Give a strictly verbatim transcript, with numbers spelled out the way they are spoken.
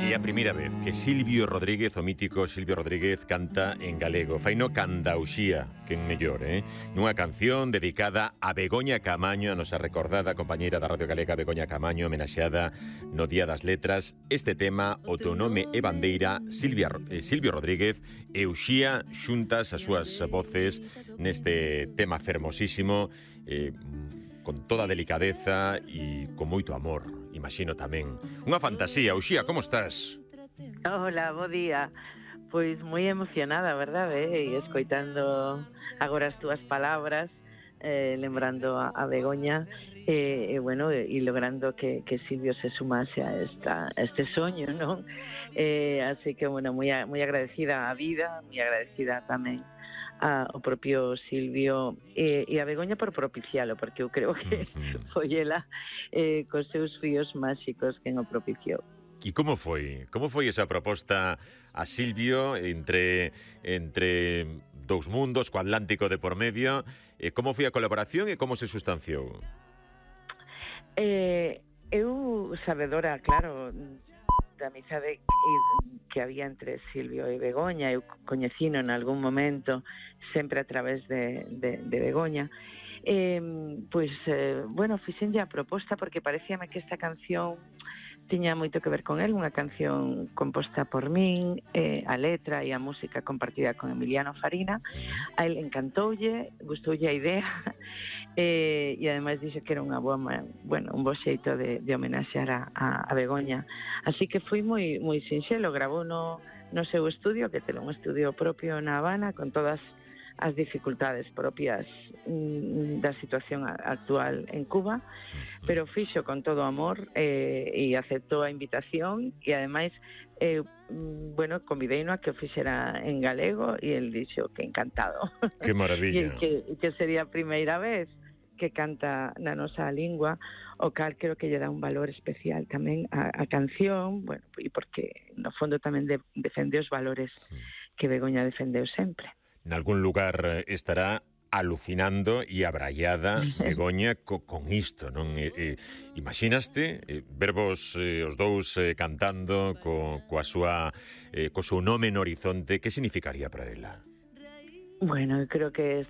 É a primeira vez que Silvio Rodríguez, o mítico Silvio Rodríguez, canta en galego. Faino canda Uxía, que en mellor, eh? Nunha canción dedicada a Begoña Camaño, a nosa recordada compañeira da Radio Galega Begoña Camaño, homenaxeada no Día das Letras. Este tema, o teu nome e bandeira, Silvia, eh, Silvio Rodríguez e Uxía xuntas as súas voces neste tema fermosísimo, eh, con toda a delicadeza e con moito amor, imagino tamén. Unha fantasía. Uxía, como estás? Hola, bo día. Pois moi emocionada, verdade? E escoitando agora as túas palabras, eh, lembrando a, a Begoña, e, eh, bueno, e, e logrando que, que Silvio se sumase a, esta, a este soño, non? Eh, así que, bueno, moi, moi agradecida á vida, moi agradecida tamén a, o propio Silvio e, e a Begoña por propicialo, porque eu creo que uh-huh. foi ela eh, cos seus fíos máxicos quen o propiciou. E como foi? Como foi esa proposta a Silvio entre entre dous mundos, co Atlántico de por medio? E como foi a colaboración e como se sustanciou? Eh, eu sabedora, claro, da amizade que había entre Silvio e Begoña, eu coñecino en algún momento, sempre a través de, de, de Begoña, eh, pois, eh, bueno, fixenlle a proposta porque parecíame que esta canción tiña moito que ver con él, unha canción composta por min, eh, a letra e a música compartida con Emiliano Farina. A él encantoulle, gustoulle a idea, eh, e ademais dixo que era unha boa, bueno, un bo xeito de, de homenaxear a, a, a Begoña. Así que foi moi moi sinxelo, grabou no, no seu estudio, que ten un estudio propio na Habana, con todas as dificultades propias mm, da situación actual en Cuba, pero fixo con todo amor eh, e aceptou a invitación e ademais eh, mm, bueno, convideino a que o fixera en galego e el dixo que encantado. Que maravilla. E que, que sería a primeira vez que canta na nosa lingua, o cal creo que lle dá un valor especial tamén a, a canción, bueno, e porque no fondo tamén de, defende os valores que Begoña defendeu sempre. En algún lugar estará alucinando e abraiada Begoña co, con isto, non? E, e, imaginaste eh, vervos eh, os dous eh, cantando co, coa súa, eh, co seu nome no horizonte, que significaría para ela? Bueno, creo que